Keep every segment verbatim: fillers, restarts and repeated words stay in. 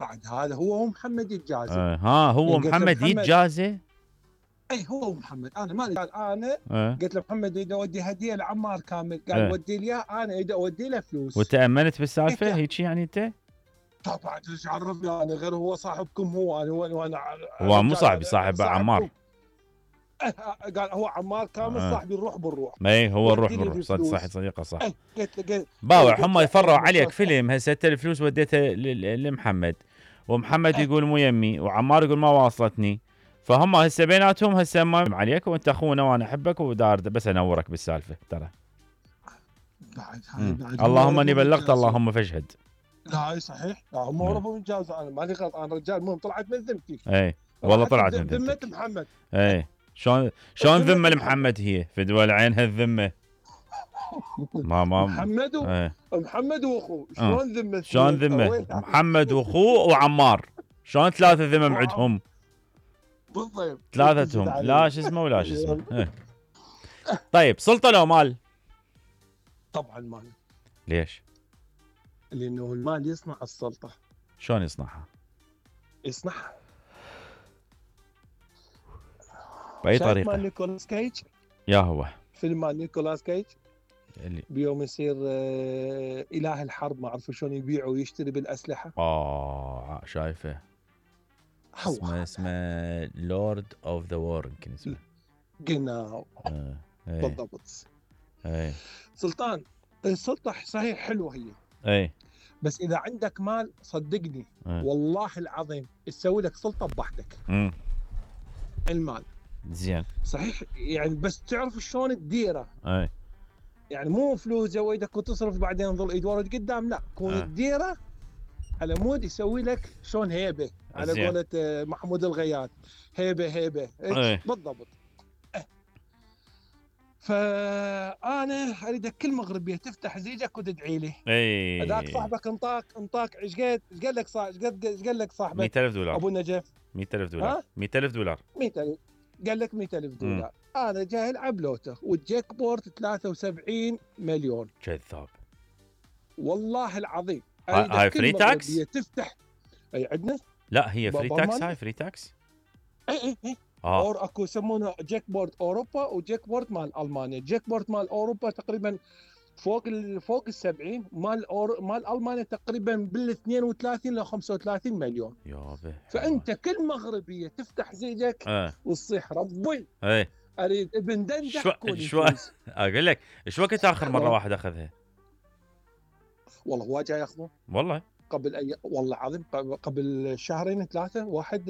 بعد هذا هو محمد يتجازى. اه ها هو يعني محمد, محمد يتجازى. اي هو محمد انا ما قال انا اه. قلت له محمد اريد اودي هديه لعمار كامل، قال اه. ودي لي انا اريد اودي له فلوس. وتامنت بالسالفه هيك يعني انت؟ طبعا ايش عرفني انا غير هو صاحبكم، هو انا وانا هو مو صاحبي، صاحب عمار. قال هو عمار كامل آه. صاحبي نروح بالروح. ما هو الروح بالروح صح صح صديقه صح. ايه قلت له باوع هم يفروا عليك فيلم هسه انت الفلوس وديتها لمحمد ومحمد ايه يقول مو يمي وعمار يقول ما واصلتني، فهم هسه بيناتهم هسه ما عليك وانت اخونا وانا احبك ودار بس انورك بالسالفه ترى. بعد هاي بعد اللهم اني بلغت اللهم فاشهد. لا اي صحيح، لا هم هربوا من جازوا، انا مالي غلط، انا رجال المهم طلعت من ذمتي. اي والله طلعت من ذمة ذمتك. محمد. اي شلون شلون ذمه لمحمد هي فدوى عينها الذمه. ما ما محمد و... ايه. محمد واخوه شلون ذمه؟ شلون ذمه؟ محمد واخوه وعمار شلون ثلاثه ذمم عندهم؟ بالضبط ثلاثتهم لا شو اسمه ولا شو اسمه. ايه. طيب سلطه لو مال؟ طبعا مال. ليش؟ لانه المال يصنع السلطه. شلون يصنعها؟ يصنعها باي طريقه؟ مال نيكولاس كيج. يا هو فيلم مال نيكولاس كيج اللي بيوم يصير آه اله الحرب، ما اعرف شلون يبيع ويشتري بالاسلحه. اه شايفه اسمه اسمه لورد اوف ذا وور يمكن اسمه. جناو آه. ايه. بالضبط. ايه. سلطان السلطه صحيح حلوه هي. ايه. بس اذا عندك مال صدقني ايه. والله العظيم تسوي لك سلطه بوحدك. امم المال زين صحيح يعني، بس تعرف شلون تديره. اي يعني مو فلوس زويدك وتصرف بعدين ظل ايد ورا قدام، لا كون أه. تديره على مود يسوي لك شلون هيبه على قولة محمود الغياث، هيبه هيبه أه. بالضبط. أه. فانا اريدك كل مغربيه تفتح زيجك وتدعي لي. اي هذاك صاحبك انطاك انطاك ايش قد ايش قال لك صاحب ايش قد ايش قال لك صاحبك؟ مئة ألف دولار. ابو النجف مئة ألف دولار. مئة ألف دولار. مئة ألف قال لك مئة ألف دولار. م. انا جاي العب لوتو والجيك بورد ثلاثة وسبعين مليون. كذاب والله العظيم. هاي فري تاكس؟ تفتح اي عندنا؟ لا هي فري تاكس. هاي فري تاكس؟ اي اي اي آه. اور اكو يسمونه جيك بورد اوروبا وجيك بورد مال المانيا. جيك بورد مال اوروبا تقريبا فوق ال فوق ال سبعين، مال أور... مال المانيا تقريبا بال اثنين وثلاثين ل خمسة وثلاثين مليون. يابا فانت كل مغربيه تفتح زيجك أه. وتصيح ربي اي اريد ابن دندح شو شو اقول لك ايش وقت اخر مره واحد اخذها؟ والله هو جاي ياخذه والله قبل اي والله العظيم قبل شهرين ثلاثه. واحد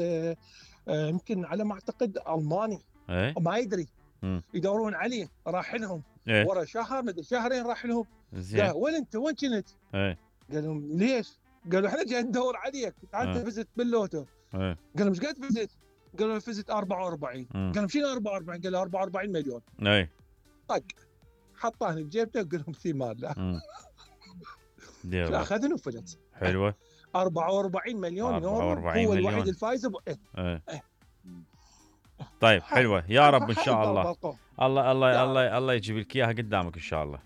يمكن على ما اعتقد الماني ايه؟ ما يدري م. يدورون عليه راح لهم ايه؟ ورا شهر مدري شهرين راح لهم. زين قال وين انت وين كنت؟ ايه؟ قال لهم ليش؟ قالوا احنا جاي ندور عليك تعال تفزت باللوتو. ايه؟ قال لهم ايش قد فزت؟ قالوا فزت أربعة وأربعين. قال لهم شنو أربعة وأربعين؟ قال له أربعة وأربعين مليون. ايه طق حطاه بجيبته وقال لهم ثمار لا اخذني وفلت. حلوه أربعة وأربعين مليون يورو هو الوحيد الفايز ب... ايه. ايه. طيب حلوه يا رب ان شاء الله. الله الله الله الله يجيب لك اياها قدامك ان شاء الله.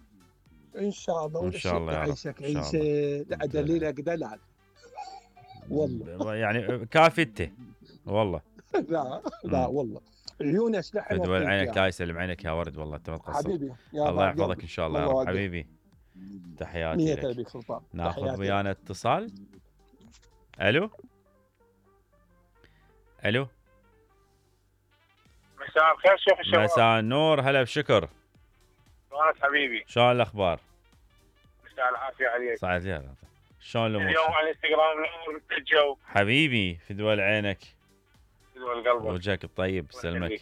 ان شاء الله ان شاء الله يا رب. عيشك عيشه لا دليلك دلال والله يعني كافته والله. لا لا والله عيونه سلاح دول عينك لا يسلم عينك يا ورد والله انت ما تقصر حبيبي. الله يحفظك ان شاء الله يا رب حبيبي. تحياتي لك. ناخذ ويانا اتصال. الو الو مساء الخير شيخ الشباب. مساء النور هلا بشكر. شلونك حبيبي؟ شلون الاخبار؟ مساء العافيه عليك. سعد لي شلون الامور؟ اليوم على الانستغرام نور الجو حبيبي في دول عينك في دول قلبك وجهك الطيب سلمك.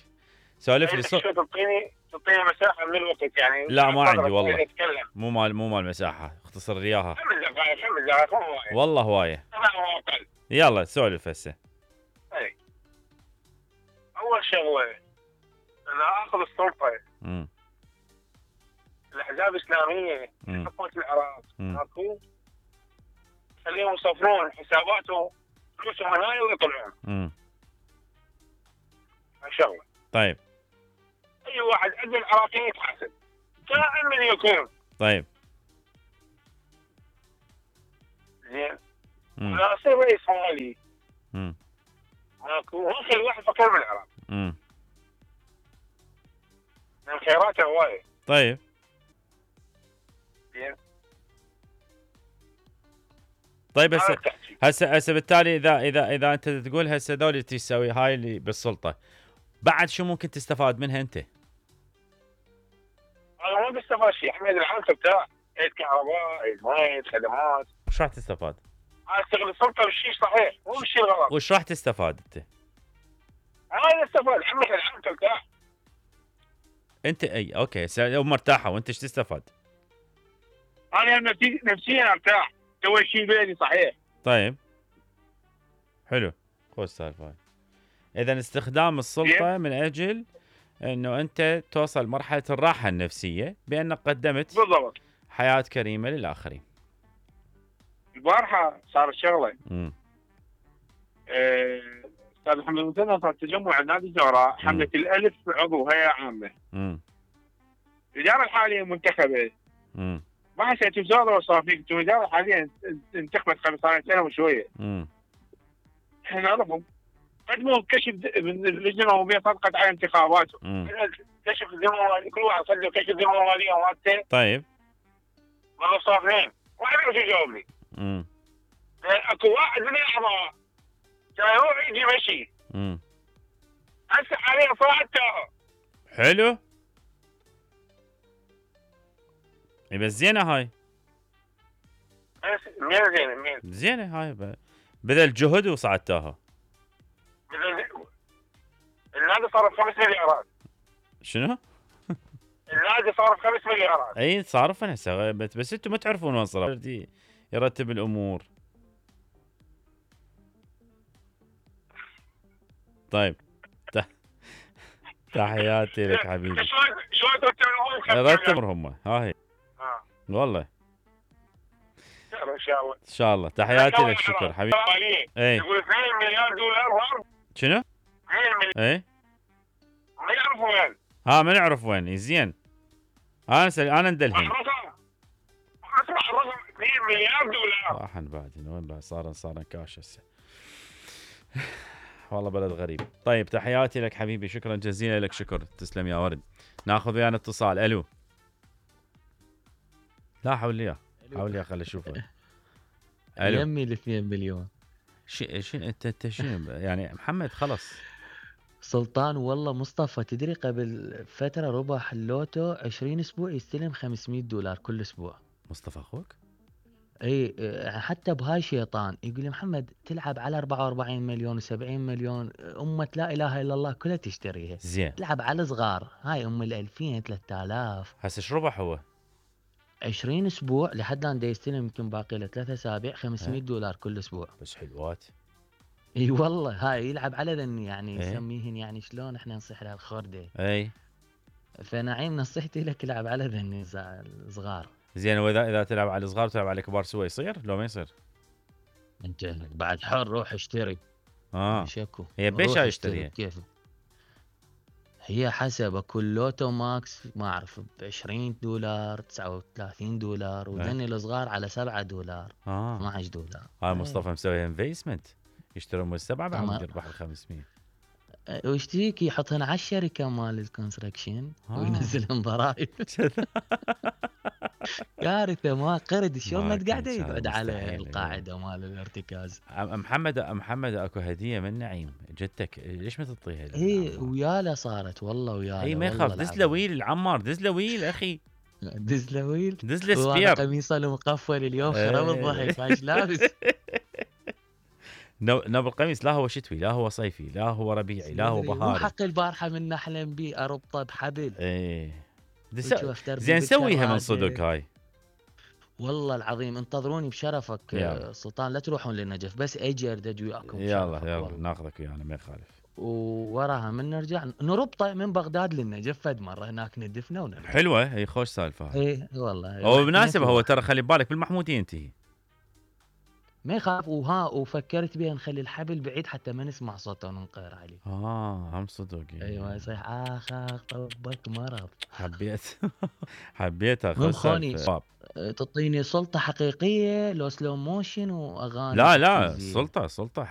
سولف لي صوت تعطيني تعطيني مساحه من الوقت يعني. لا ما عندي والله مو مال مو مال مساحه اختصر لي اياها. خمس دقائق خمس دقائق مو هوايه والله هوايه. يلا سولف هسه. اي اول شغله اذا اخذ السلطه امم الاحزاب الاسلاميه حكومه العراق اكو خليهم يصفرون حساباتهم فلوسهم هاي ويطلعون. امم هاي شغله. طيب اي واحد عنده العراقيين يتحاسب كائن من يكون. طيب زين مم. انا اصير رئيس مالي مم. ماكو ممكن الواحد فقير بالعراق مم. من خيراته هوايه. طيب زين طيب هذا هسه التحكي. هسه هسه بالتالي اذا اذا اذا انت تقول هسه ذولي تسوي هاي اللي بالسلطه، بعد شو ممكن تستفاد منها انت؟ انا ما بستفاد شيء، حميد العمل بتاع عيد كهرباء، عيد مي، خدمات. وش راح تستفاد؟ انا اشتغل السلطه بالشيء صحيح مو بالشيء الغلط. وش راح تستفاد انت؟ انا استفاد حميد العمل بتاع انت اي اوكي لو مرتاحه وانت ايش تستفاد؟ انا نفسي نفسيا ارتاح، سوي شيء بيدي صحيح. طيب حلو، خوش السالفه هاي. اذا استخدام السلطه من اجل انه انت توصل مرحله الراحه النفسيه بانك قدمت بالضبط حياه كريمه للاخرين. البارحه صارت شغله. امم آه، استاذ محمد المثنى صار تجمع نادي الزهراء حمله الالف عضو هيئه عامه. امم الاداره الحاليه منتخبه. امم ما حسيت بزوره وصافيك، الاداره الحاليه انتخبت قبل سنتين وشويه. امم احنا نعرفهم قدموا كشف من اللجنه العموميه صدقت على انتخاباتهم. كشف الذمه الماليه، كل واحد صدق كشف الذمه الماليه مالته. طيب والله صافين ما اعرف شو يجاوبني. امم اكو واحد من الاعضاء كان هو يجي مشي. امم هسه حاليا صعدته. حلو، اي بس زينه هاي، مين زين مين؟ زينه هاي ب... بذل جهد وصعدتها. النادي صرف خمس مليارات. شنو؟ النادي صرف خمس مليارات. اي صارف هسه، بس, بس انتم ما تعرفون وين صرف، يرتب الامور. طيب تحياتي لك حبيبي. شلون شلون ترتبون؟ رتب هم هاي اه والله ان شاء الله ان شاء الله. تحياتي لك، شكر حبيبي. اي يقول اثنين مليار دولار. شنو؟ اثنين مليار اي ما يعرفوا وين. ها ما نعرف وين. زين انا سل... انا ندلهم. الرقم اسمع الرقم اثنين مليار دولار. راحن بعد وين بعد صار صار كاش هسه. والله بلد غريب. طيب تحياتي لك حبيبي، شكرا جزيلا لك. شكر، تسلم يا ورد. ناخذ ويانا اتصال. الو. لا حول لي حول لي خلي اشوفه. الو يمي ال اثنين مليون. شي شي انت انت شنو يعني محمد؟ خلص سلطان والله مصطفى تدري قبل فتره ربح اللوتو عشرين اسبوع يستلم خمسمية دولار كل اسبوع. مصطفى اخوك؟ اي حتى بهاي شيطان يقول لي محمد تلعب على أربعة وأربعين مليون وسبعين مليون، امه لا اله الا الله كلها تشتريها. زين تلعب على صغار، هاي ام ال ألفين ثلاثة آلاف. هسه ايش ربح هو؟ عشرين اسبوع لحد الان دا يستلم يمكن باقي له ثلاث اسابيع خمسمية دولار كل اسبوع. بس حلوات. اي والله هاي يلعب على ذني يعني ايه؟ يسميهن يعني شلون احنا نصيح لها الخرده. اي فنعيم نصيحتي لك العب على ذني صغار. زين، واذا اذا تلعب على الصغار وتلعب على الكبار سوا يصير لو ما يصير؟ انت بعد حر روح اشتري. اه شكو هي بيش اشتريها؟ كيف هي حسب كل لوتو ماكس ما اعرف ب عشرين دولار تسعة وثلاثين دولار، وذني الصغار على سبعة دولار اه اثناعش دولار. هاي مصطفى مسوي انفستمنت، يشترون من السبعه بعد يربح ال خمسمية. وش تيك يحطهن على الشركه مال الكونستراكشن آه. وينزلهم ضرائب. كارثه ما قرد شلون ما قاعد كان يقعد صار على مستحيل. القاعده مال الارتكاز. أم- محمد محمد اكو هديه من نعيم جدتك، ليش ما تعطيها؟ اي وياله صارت والله وياله. اي ما يخاف، دز له ويل العمار، دز له ويل اخي، دز له ويل. دز له هو سبير. قميصه المقفل اليوم خرب الضحك ايش لابس. نو نو القميص لا هو شتوي لا هو صيفي لا هو ربيعي لا هو مو بهاري. حق البارحه من نحلم بيه اربطه بحبل. ايه دس... وشوف دربي زين سويها من بالكراسة. صدق هاي. والله العظيم انتظروني بشرفك يلا. آه، سلطان لا تروحون للنجف بس اجي اردد وياكم يلا بشرفك يلا والله. ناخذك ويانا ما يخالف. ووراها من نرجع نربطه من بغداد للنجف فد مره هناك ندفنا ونرجع. حلوه هي، خوش سالفه هاي. ايه والله هو بالمناسبه هو ترى خلي بالك بالمحموديه انتهي. ما يخاف. وها وفكرت بها نخلي الحبل بعيد حتى ما نسمع صوته وننقهر عليه. اه هم صدق يعني. ايوه يصيح اخ اخ طبك مرض. حبيت حبيت المهم اخذ خوني سالفة. تعطيني سلطة حقيقية لو سلو موشن واغاني لا لا تحفيزية. سلطة سلطة